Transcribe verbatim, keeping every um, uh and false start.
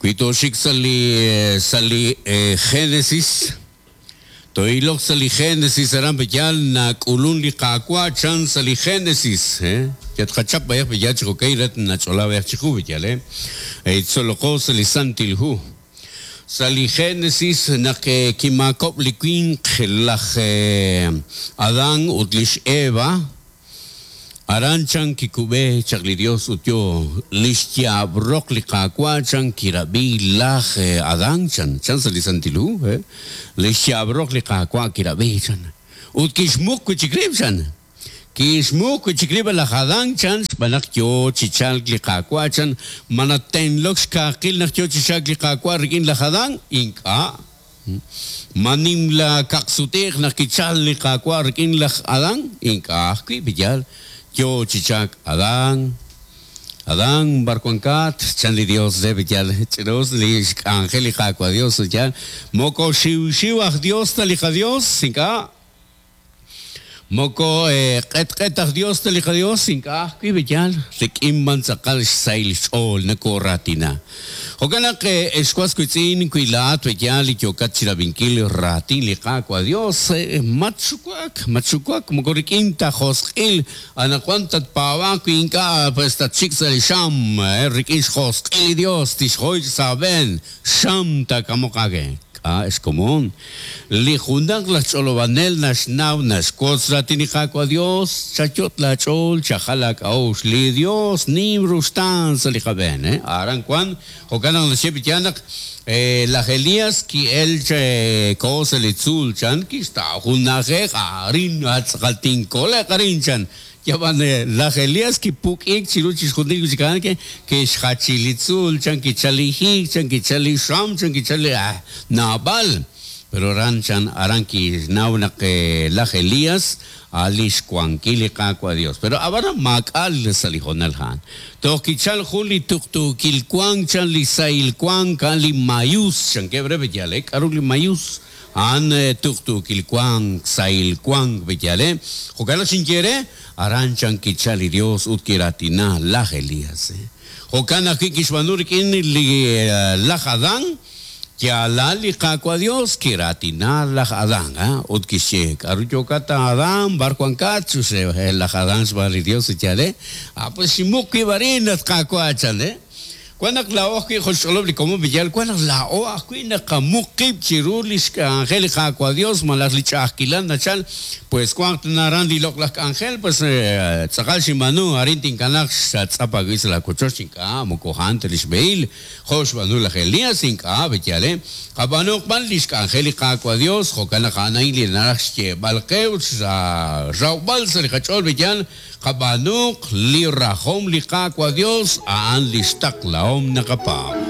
Wi toxik sa' li sa' li Génesis toilok sa' li Génesis aran b'yal nak'ulun li Qaawa' chan sa' li Génesis eh yatqachap b'ayaq b'yal chikokay ret nach'ola b'ayaq chiqu b'yal eh eitzoloqo sa' li Santil Hu sa' li Génesis naq kimakob' li winq laj Adán ut lix Eva aran chan kikub'e chaq li Dios ut yo lix yaab'roq li Qaawa' chan kirab'i laj Adán chan chan sa' li Santil Hu eh lix yaab'roq li Qaawa' kirab'i chan ut kixmuq wi'chik rib' chan kixmuq wi'chik rib' laj Adán chan xb'aan naq yo chichalk li Qaawa' chan manatenlok xkaaqil naq yo chichalk li Qaawa' rik'in laj Adán ink'a' manim la kaqsutiq naq kichal li Qaawa' rik'in laj Adán ink'a' ajwi' b'yal yo chichak Adán Adán barcuancat chan li Dios de b'yal ch'ros li xk'anjel li Qaawa' Dios yal moko xiw xiw aj Dios ta li Dios ink'a' moko q'et q'et aj Dios ta li Dios ink'a' ajwi' b'yal rik'in b'an tz'aqal xsahil xch'ool nakoratina jo'kan naq exwas witz'in wilaat b'yal li yokat chirab'inkil raatin li Qaawa' Dios matxuwak matxuwak moko rik'in ta josq'il anaqwan tatpaab'aq wi ink'a' pues tatxik sa' li xam rik'in xjosq'il li Dios tixjoy sa' xam takamoqage xkomon li junaq laj ch'olob'anel naxnaw naxwotz raatin li Qaawa' Dios chayot la ch'ool chajal ak'a'uxl li Dios nim ruxtaan sa' li qab'een eh aran wan jo'kan naq naxye b'yal naq laj Elías ki'el ko sa' li tzuul chan kixta' jun na'ajej arin atz'aqal tinkoleq arin chan yaban laj Elías kipuk'ik chiru chixjunil wichikan ke kixjachil li tzuul chan kichalijik chan kichali xam chan kichali ah naab'al pero aran chan aran kixnaw naq laj Elías alix xwankil li Qaawa' Dios pero ab'an maak'al sa' li jonal han toj kichal jun li tuqtuukil wank chan li sahil wank kan li mayus chan kebre b'yal eh k'aru li mayus an tuqtuukil wank sahil wank b'yal eh jo'kan naq xinyere aran chan kichal li Dios ut kiratina laj Elías jo'kan ajwi' kixb'aanu rik'in li laj Adán yalal li Qaawa' Dios kiratina laj Adán ut kixye k'aru yokat Adán barwankat chuse laj Adán xb'aan li Dios yale ah pues ximuq wib' arin at Qaawa' chan eh wan naq laa'o ajwi' joxch'olob' li komon b'yal wan naq laa'o ajwi' naqamuq qib' chiru li xk'anjel li Qaawa' Dios malaj li ch'a'ajkilal nachal pues wanq naran li loq'laj k'anjel pues tz'aqal xinb'aanu arin tinkanaq xatz'ap ajwi' sa' la kochoch ink'a' moko a'an ta li xb'ehil jo' xb'aanu laj Elías ink'a' b'yal eh qab'aanuq b'an li xk'anjel li Qaawa' Dios jo'kan naq a'an a'in li naraj xyeeb'al qe ut rawb'al sa' li qach'ool b'yal qab'aanuq li rajom li Qaawa' Dios a'an li xtaqlahom naqapaab'.